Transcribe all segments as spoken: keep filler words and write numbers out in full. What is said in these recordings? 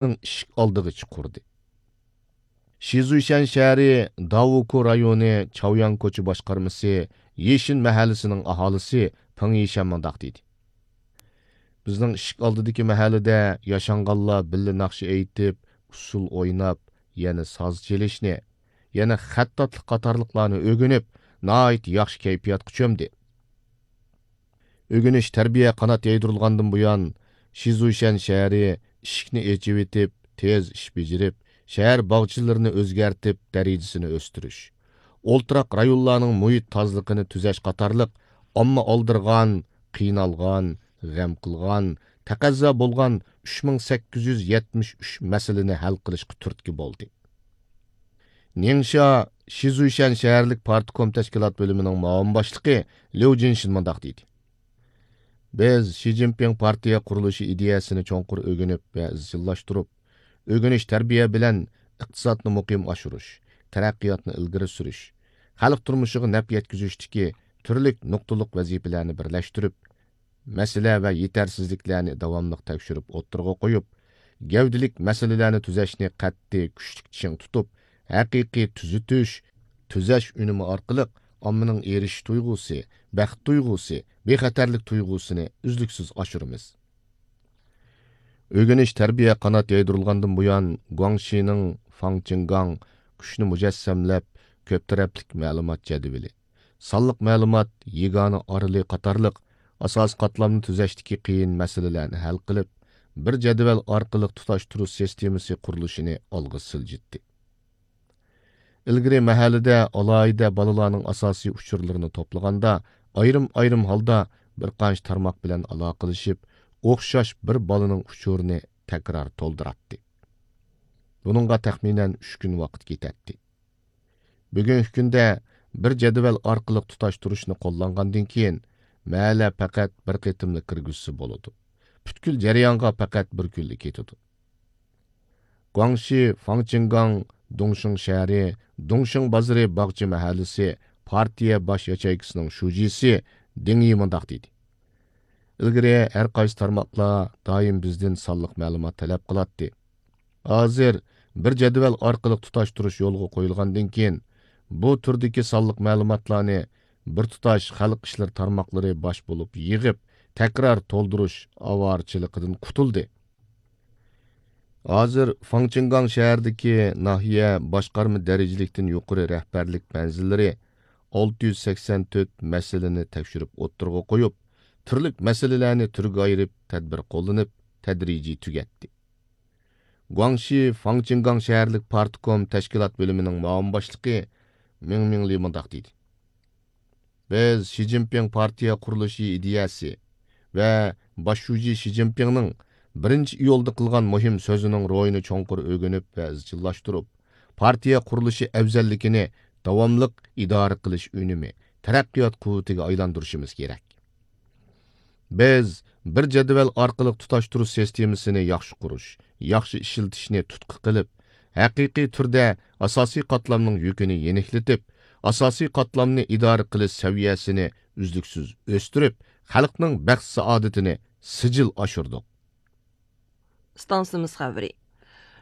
ئىشىك ئالدىغىچە قۇردى. شىزۇيشەن شەھىرى داۋۇكۇ رايونى چاۋياڭ كوچا باشقارمىسى يېشىن مەھەللىسىنىڭ ئاھالىسى پېڭ يىشەن مۇنداق دېدى: بىزنىڭ ئىشىك ئالدىدىكى مەھەللىدە ياشانغانلار بىللە ناخشا ئېيتىپ، ئۇسسۇل ئويناپ، يەنە ساز چېلىشنى، يەنە خەتتاتلىق قاتارلىقلارنى ئۆگىنىپ، ناھايىتى ياخشى كەيپىياتقا چۆمدى. ئۆگىنىش، تەربىيە قانات يايدۇرۇلغاندىن بۇيان، شىزۇيشەن شەھىرى ئىشىكنى ئېچىۋېتىپ، تېز ئىش بېجىرىپ، شەھەر باغچىلىرىنى ئۆزگەرتىپ، دەرىجىسىنى ئۆستۈرۈش، ئولتۇراق رايونلارنىڭ مۇھىت تازىلىقىنى تۈزەش قاتارلىق ئامما ئالدىرىغان، قىينالغان، غەم قىلغان، تەقەززا بولغان ئۈچ مىڭ سەككىز يۈز يەتمىش ئۈچ مەسىلىنى ھەل قىلىشقا تۈرتكە بولدى. نىڭشيا شىزۇيشەن شەھەرلىك پارتكوم تەشكىلات بۆلۈمىنىڭ مۇئاۋىن باشلىقى ليۇ جىنشىن مۇنداق دېدى: بىز شى جىنپىڭ پارتىيە قۇرۇلۇشى ئىدىيەسىنى چوڭقۇر ئۆگىنىپ ۋە ئىزچىللاشتۇرۇپ، ئۆگىنىش، تەربىيە بىلەن ئىقتىسادنى مۇقىم ئاشۇرۇش، تەرەققىياتنى ئىلگىرى سۈرۈش، خەلق تۇرمۇشىغا نەپ يەتكۈزۈشتىكى تۈرلۈك نۇقتىلىق ۋەزىپىلەرنى بىرلەشتۈرۈپ، مەسىلە ۋە يېتەرسىزلىكلەرنى داۋاملىق تەكشۈرۈپ ئوتتۇرىغا قويۇپ، گەۋدىلىك مەسىلىلەرنى تۈزەشنى قەتئىي كۈچلۈك چىڭ تۇتۇپ، ھەقىقىي تۈزىتىش، تۈزەش ئۈنۈمى ئارقىلىق ئاممىنىڭ ئېرىشىش تۇيغۇسى، بەخت تۇيغۇسى، بىخەتەرلىك تۇيغۇسىنى ئۈزلۈكسىز ئاشۇرىمىز. ئۆگىنىش، تەربىيە قانات يايدۇرۇلغاندىن بۇيان، گۇاڭشىنىڭ فاڭچىڭگاڭ كۈچنى مۇجەسسەملەپ، كۆپ تەرەپلىك مەلۇمات جەدۋىلى، سانلىق مەلۇمات يېگانە ئارىلى قاتارلىق ئاساسىي قاتلامنى تۈزەشتىكى قىيىن مەسىلىلەرنى ھەل قىلىپ، بىر جەدۋەل ئارقىلىق تۇتاشتۇرۇش سىستېمىسى قۇرۇلۇشىنى ئالغا سىلجىتتى. ئىلگىرى مەھەللىدە ئالاھىدە بالىلارنىڭ ئاساسىي ئۇچۇرلىرىنى توپلىغاندا، ئايرىم-ئايرىم ھالدا بىر قانچە تارماق بىلەن ئالاقىلىشىپ، ئوخشاش بىر بالىنىڭ ئۇچۇرىنى تەكرار تولدۇراتتى. بۇنىڭغا تەخمىنەن ئۈچ كۈن ۋاقىت كېتەتتى. بۈگۈنكى كۈندە بىر جەدۋەل ئارقىلىق تۇتاشتۇرۇشنى قوللانغاندىن كېيىن، مەھەللە پەقەت بىر قېتىملا كىرگۈزسە بولىدۇ. پۈتكۈل جەريانغا پەقەت بىر كۈنلا كېتىدۇ. گۇاڭشى فاڭچىڭگاڭ دۇڭشىڭ شەھىرى دۇڭشىڭ بازىرى باغچە مەھەللىسى پارتىيە باش ياچېيكىسىنىڭ شۇجىسى دېڭ يى مۇنداق دېدى: ئىلگىرى ھەر قايسى تارماقلار دائىم بىزدىن سانلىق مەلۇمات تەلەپ قىلاتتى. ھازىر بىر جەدۋەل ئارقىلىق تۇتاشتۇرۇش يولغا قويۇلغاندىن كېيىن، بۇ تۈردىكى سانلىق مەلۇماتلارنى بىر تۇتاش خەلق ئىشلىرى تارماقلىرى باش بولۇپ يىغىپ، تەكرار تولدۇرۇش ئاۋارىچىلىقىدىن قۇتۇلدى. ھازىر فاڭچىڭگاڭ شەھىرىدىكى ناھىيە باشقارما دەرىجىلىكتىن يۇقىرى رەھبەرلىك مەنزىللىرى ئالتە يۈز سەكسەن تۆت مەسىلىنى تەكشۈرۈپ ئوتتۇرىغا قويۇپ، تۈرلۈك مەسىلىلەرنى تۈرگە ئايرىپ تەدبىر قوللىنىپ، تەدرىجىي تۈگەتتى. گۇاڭشى فاڭچىڭگاڭ شەھەرلىك پارتكوم تەشكىلات بۆلۈمىنىڭ مۇئاۋىن باشلىقى مىڭ مىڭلى مۇنداق دېدى: بىز شى جىنپىڭ پارتىيە قۇرۇلۇشى ئىدىيەسى ۋە باش شۇجى شى جىنپىڭنىڭ بىرىنچى ئىيۇلدا قىلغان مۇھىم سۆزىنىڭ روھىنى چوڭقۇر ئۆگىنىپ ۋە ئىزچىللاشتۇرۇپ، پارتىيە قۇرۇلۇشى ئەۋزەللىكىنى داۋاملىق ئىدارە قىلىش ئۈنۈمى، تەرەققىيات قۇۋۋىتىگە ئايلاندۇرۇشىمىز كېرەك. بىز بىر جەدۋەل ئارقىلىق تۇتاشتۇرۇش سىستېمىسىنى ياخشى قۇرۇش، ياخشى ئىشلىتىشنى تۇتقا قىلىپ، ھەقىقىي تۈردە ئاساسىي قاتلامنىڭ يۈكىنى يېنىكلىتىپ، ئاساسىي قاتلامنى ئىدارە قىلىش سەۋىيەسىنى ئۈزلۈكسىز ئۆستۈرۈپ، خەلقنىڭ بەخت-سائادىتىنى سىجىل ئاشۇردۇق. ئىستانسىمىز خەۋىرى.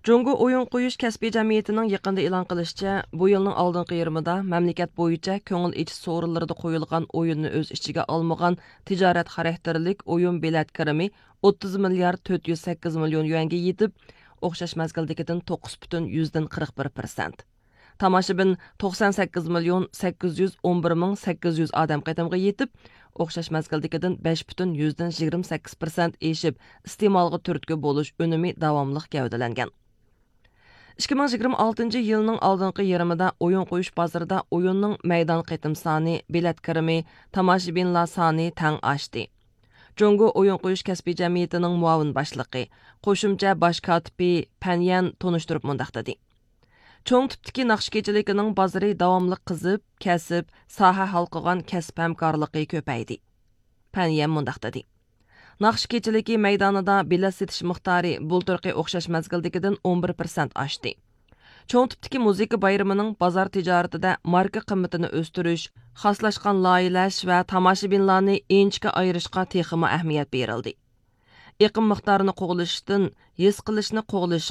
جۇڭگو ئويۇن قويۇش كەسپىي جەمئىيىتىنىڭ يېقىندا ئېلان قىلىشىچە، بۇ يىلنىڭ ئالدىنقى يېرىمىدا مەملىكەت بويىچە كۆڭۈل ئېچىش سورۇنلىرىدا قويۇلغان ئويۇننى ئۆز ئىچىگە ئالمىغان تىجارەت خاراكتېرلىك ئويۇن بېلەت كىرىمى ئوتتۇز مىليارد تۆت يۈز سەككىز مىليون يۈەنگە يېتىپ، ئوخشاش مەزگىلدىكىدىن توققۇز پۈتۈن يۈزدىن قىرىق بىر پىرسەنت. تاماشىبىن توقسان سەككىز مىليون سەككىز يۈز ئون بىر مىڭ سەككىز يۈز ئادەم قېتىمغا يېتىپ، ئوخشاش مەزگىلدىكىدىن بەش پۈتۈن يۈزدىن يىگىرمە سەككىز پىرسەنت ئېشىپ، ئىستېمالغا تۈرتكە بولۇش ئۈنۈمى داۋاملىق گەۋدىلەنگەن. ئىككى مىڭ يىگىرمە ئالتىنچى يىلنىڭ ئالدىنقى يېرىمىدا ئويۇن قويۇش بازىرىدا ئويۇننىڭ مەيدان قېتىم سانى، بېلەت كىرىمى، تاماشىبىنلار سانى تەڭ ئاشتى. جۇڭگو ئويۇن قويۇش كەسپىي جەمئىيىتىنىڭ مۇئاۋىن باشلىقى، قوشۇمچە باش كاتىپى پەن يەن تونۇشتۇرۇپ مۇنداق دېدى: چوڭ تىپتىكى ناخشا كېچىلىكىنىڭ بازىرى داۋاملىق قىزىپ، كەسىپ، ساھە ھالقىغان كەسىپ ھەمكارلىقى كۆپەيدى. پەن يەن مۇنداق دېدى: ناخشا كېچىلىكى مەيدانىدا بېلەت سېتىش مىقدارى بۇلتۇرقى ئوخشاش مەزگىلدىكىدىن ئون بىر پىرسەنت ئاشتى. چوڭ تىپتىكى مۇزىكا بايرىمىنىڭ بازار تىجارىتىدە ماركا قىممىتىنى ئۆستۈرۈش، خاسلاشقان لايىھەلەش ۋە تاماشىبىنلارنى ئىنچىكە ئايرىشقا تېخىمۇ ئەھمىيەت بېرىلدى. ئېقىم مىقدارىنى قوغلىشىشتىن ھېس قىلىشنى قوغلىشىش